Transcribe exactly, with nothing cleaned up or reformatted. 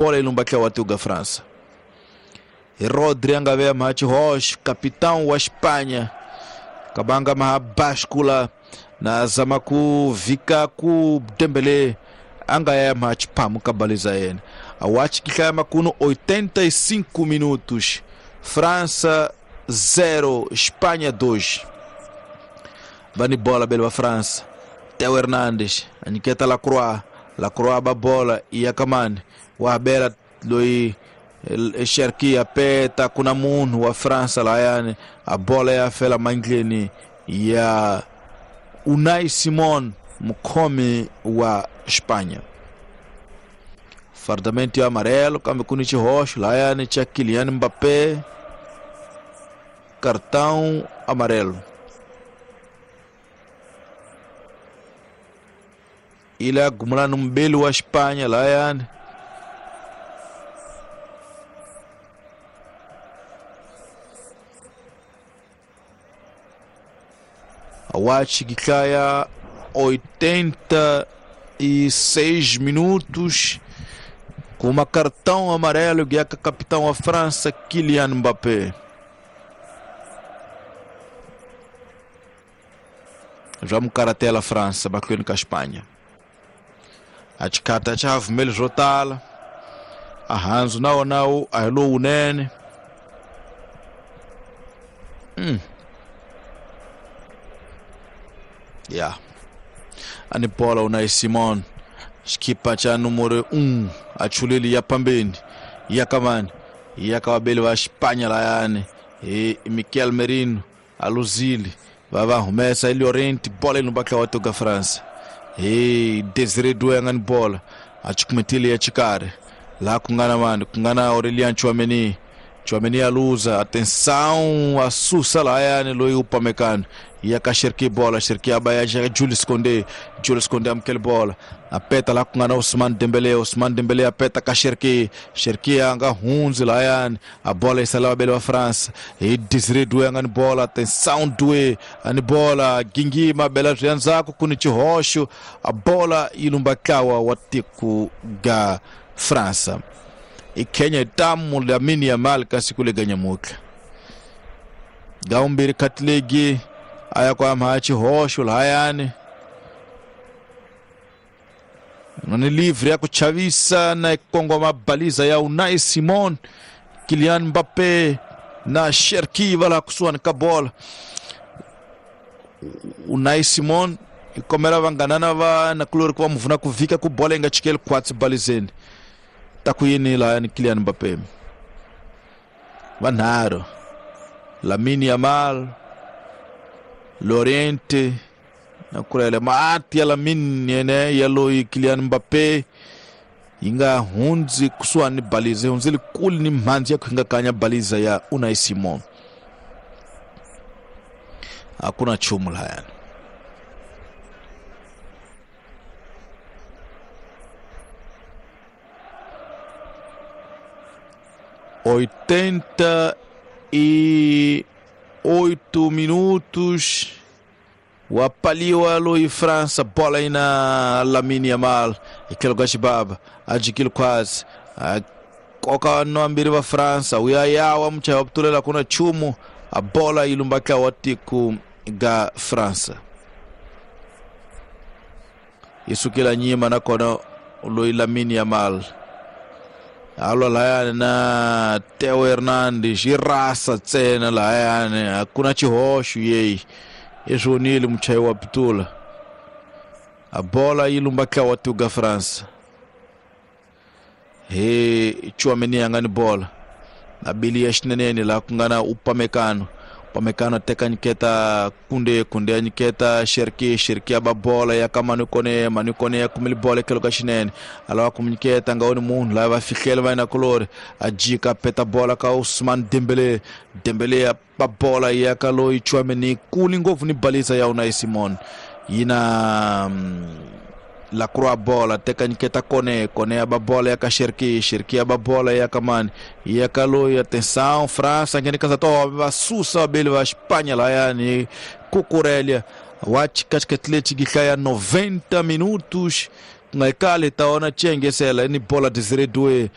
Bola ilumbakia watuga França. E Rodri anga machi Roche, capitão wa Espanha. Kabanga mahabashkula na zamaku vika ku Dembélé anga ya machi pamu kabaliza yena. Awachi kikaya makuno oitenta e cinco minutos. França zero, Espanha dois. Vani bola bela França. Theo Hernandes, Aniqueta Lacroix, Lacroix ba bola e akamani. Wabela loi Cherki apeta kuna munhu wa França la yani a bola ya fela mangleni ya Unai Simon mukhomi wa Espanha. Fardamento ya amarelo kambe kuni chihoxo la yani cha Kylian Mbappé, cartão amarelo. Ile gumula numbeli wa Espanha la yani Awachi Gikaya oitenta e seis minutos com uma cartão amarelo que é capitão da França Kylian Mbappé. Vamos caratela França batendo com a Espanha. A chikata cha vermelho jotala. A Hanzo nao nao a lo unene. Hum. Yeah. Anipola Unai Simon xikipa cha número um achuleli ya pambeni ya kamani ya kawabeli wa Espanha la yani e Mikel Merino aluzili vava humesa Llorente bola no bakla watoga França e Desiré Doué ngani bola achikumetile ya chikare la kungana mani kungana Aurelien Tchouaméni Tchouaméni aluza atenção a sussa la yani loi upamecano ia ka Cherki bola Cherki abaya Jules Koundé Jules Koundé amkel bola apeta la kungana Ousmane Dembélé Ousmane Dembélé apeta ka Cherki Cherki anga hunzi la yani a bola isala bela wa France e Desiré Doué ngani bola atenção Doué ani bola gingima bela zyanzako kuni chihoxo a bola ilumbakawa watiku ga França e Kenya tamu Lamine Yamal kasi kule ganyamuka gaumbiri katlegi aya kwa machi hosho layani nani livre ya kuchavisa na kongo mabaliza ya Unai Simon Kylian Mbappé na Cherki vala kusuan kabola Unai Simon ikomera vanganana va na kulori kwa mvuna kuvika ku bola inga chikele kwatsi balizeni takuyini la ni Kylian Mbappé vanharo Lamine Yamal Llorente na kurele maati ya Lamine ne ya loi Kylian Mbappé inga hunzi kuswa ni balize hunzi likuli ni mhanzi ya kuhinga kanya baliza ya Unai Simon hakuna chumu la yani oitenta e oito minutos wapaliwa loi França bola aí na Lamine Yamal ikelo gashibaba ajikilo quase koka no wa França uyayawa mcha waptulela kuna chumu a bola ilumbaka watiku ga França isukila nyima na kona loi Lamine Yamal alo layani na Theo Hernandes irasa tsena layani hakuna chihoxo yeyi eswonile muchayi wa pitula a bola yi lumbaka watuga França he Tchouaméni anga ni bola na bili ya xinenene la ku nga na Upamecano Upamecano teka nyiketa Koundé Koundé ya nyiketa Cherki Cherki ya ba bola ya ka Manu Koné Manu Koné ya kumile bola ekelo ka xinene alawa ku nyiketa nga oni munhu lava va fihlela va yina kulori a jika peta bola ka Ousmane Dembélé Dembélé ya ba bola ya ka loyi Tchouaméni kuli ngopfu ni balisa ya Unai Simon yina Lacroix bola teka nyiketa Koné Koné ya ba bola ya ka Cherki Cherki ya ba bola ya ka mani ya ka loyi atenção França ngene kaza to va susa bele va Espanha la yani Cucurella Watch Cascatlete gihlaya noventa minutos Ku nga yi kali ta ona txengesela ni bola Desire Doue.